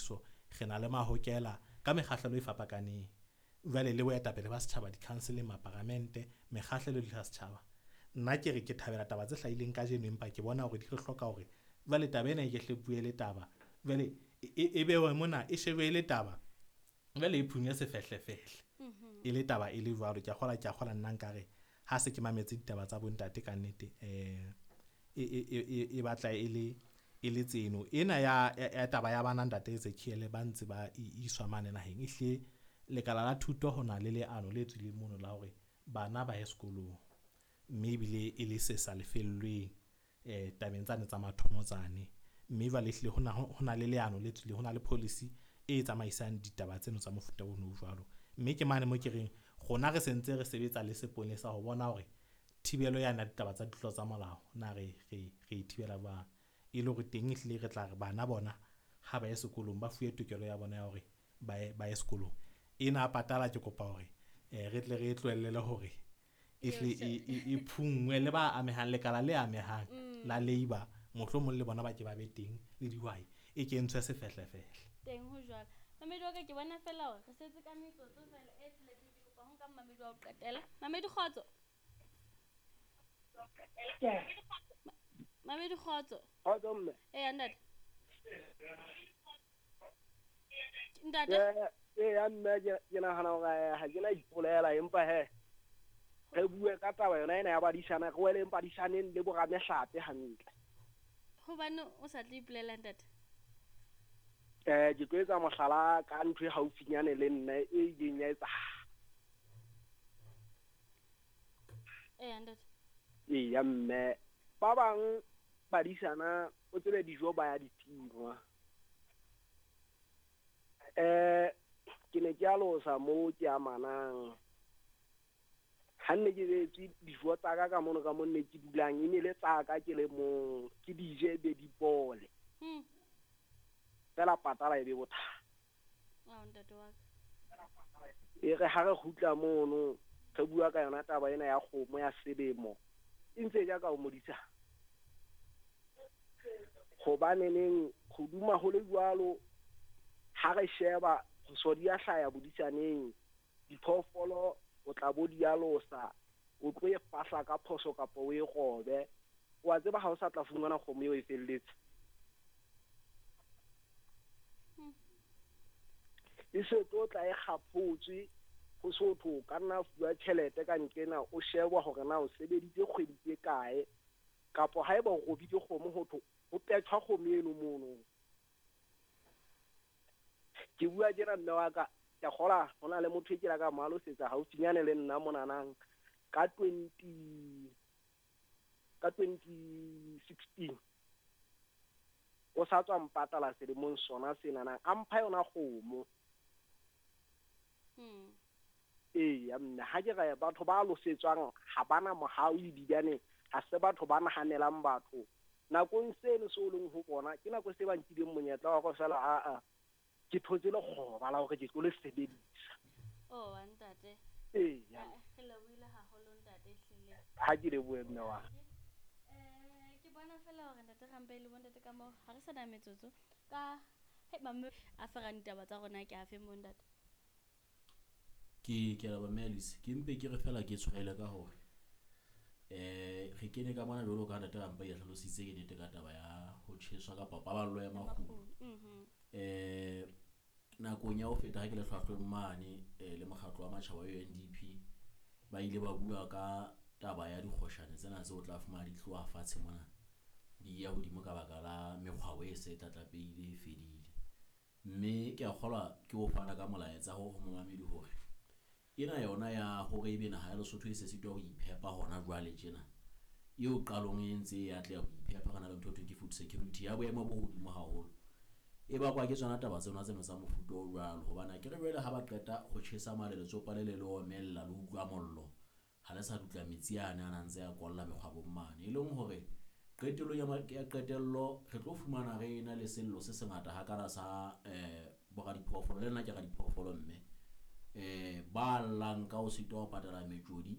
dipatlisiso, re na le mahokela ka mekgahlelo e fapakaneng. Jwale le boetapele ba setjhaba, di-council-eng, maparamente, mekgahlelo le ya setjhaba. Nna ke re ke thabela taba tse hlahileng kajeno, empa ke bona hore di re hloka hore jwale taba ena e ke hle bue le taba. Jwale e bewe mona, e shebe e le taba. Jwale e phunye sefehlefehle. E le taba e le jwalo. Ke a kgolwa nna nkare ha se ke mametse ditaba tsa bontate ka nnete, e batla e le tseno. Ena ya taba ya bana ntate Ezekiel ba ntse ba iswa mane naheng. Ehlile lekala la thuto ho na le leano le tswileng mono la hore bana ba ye sekolong, mme ebile e le se sa lefellweng tabeng tsane tsa mathomo tsane. Mme jwale ehlile ho na le leano le tswileng, ho na le policy e tsamaisang ditaba tseno tsa mofuta ono jwalo. Mme ke mane mo ke reng rona re sentse re sebetsa le seponesa ho bona hore thibelo ya na ditaba tsa ditlolo tsa molao na re e thibela jwang, e le hore teng ehlile re tla re bana bona ha ba ye sekolong ba fuwe tokelo ya bona ya hore ba ye sekolong. Ena patala ke kopa hore re tle re tlohellele hore ehle e phungwe le ba amehang, lekala le amehang la labor, mohlomong le bona ba ke ba be teng le dihwai, e kentshwe sefehlefehle teng ho jwalo. Mamedi wa ka, ke bona fela hore re setse ka metsotso fela e tsheletseng. Ke kopa ho nka mamedi wa ho qetela. Mamedi kgotso. Mamedi kgotso. Kgotso mme. Eya ntate. Ntate. Eya mme, ke nahana hore ha ke na ipolela, empa he re bue ka taba yona ena ya badisana, re wele badisaneng le boramehlape hantle. Hobane o sa tle ipolela ntate? Ke tlo etsa mohlala ka ntho e haufinyane le nna e ileng ya etsahala. Eya ntate. Eya mme, ba bang badisana o tsebe dijo ba ya di tingwa. Ke ne ke alosa mo ke amanang. Ha nne ke betswe dijo tsa ka ka mono ka mo nne ke dulang, e ne le tsa ka ke le mong, ke di je be di bole. Fela patala e be bothata. Ao ntate wa ka. E re ha re kgutla mono, re bua ka yona taba ena ya kgomo ya selemo, e ntse ja ka o modisa. Hobane neng ho duma ho le jwalo, ha re sheba phoso di a hlaya bodisaneng, diphoofolo o tla bo di alosa, o tlo e fahla ka phoso kapa o e robe. Wa tseba ha o sa tla fumana kgomo eo e felletse. E se tlo tla e kgaphotswe ho sotho, ka nna fuwa tjhelete ka nkena o shebwa hore na o sebeditse kgwedi tse kae, kapa haeba o robile kgomo ho thwe ho petjhwa kgomo eno mono. Ke bua tjena mme wa ka, ke kgola ho na le motho e ke la ka mo alosetsa haufinyane le nna monanang ka 2016. O sa tswa mpatala selemong sona senana, a mpha yona kgomo. Eya mme, ha ke re batho ba alosetswang ha bana mohau ebilane ha se batho ba nahanelang batho. Nakong seno seo leng ho bona ke nako se ba nkileng monyetla wa hore fela a ke thotse lekgoba la hore ke tlo le sebedisa. Oh ntate. Eya. Re lebohile haholo ntate ehlile. Ha ke lebohe mme wa. Ke bona fela hore ntate Rampe le bontate ka mo ha re sa na metsotso ka he mamme a ferang ditaba tsa rona ke afe mo ntate. Ke leboha mme Alice, ke mpe ke re fela ke tshwaele ka hore re kene ka mona jwalo ka ntate Rampe ya hlalositse ke nnete ka taba ya ho tjheswa kapa paballo ya makgulo. Nakong ya ho feta ha ke le hlwahlweng mane le mokgatlo wa matjhaba wa UNDP, ba ile ba bua ka taba ya dikgoshane tsena tseo tla fumana di tloha fatshe mona di ya hodimo ka baka la mekgwa e se tlatlapeile e fedile. Mme ke a kgolwa ke ho fana ka molaetsa ho momamedi hore ena yona ya hore ebe naha ya Lesotho e se sitwa ho iphepa hona jwale tjena, eo qalong e ntse e atleha ho iphepa, re na le ntho e thweng ke food security ya boemo bo hodimo haholo, e bakwa ke tsona taba tsena tseno tsa mofuta o jwalo. Hobane akere jwale ha ba qeta ho tjhesa male letsopa le le le omella le utlwa mollo, ha le sa dutla metsi ane a na ntse a kolla mekgwabong mane, e leng hore qetellong ya qetello re tlo fumana re ena le sello se sengata hakana sa boradiphoofolo. Le nna ke radiphoofolo mme ba llang ka ho sitwa ho patala metjodi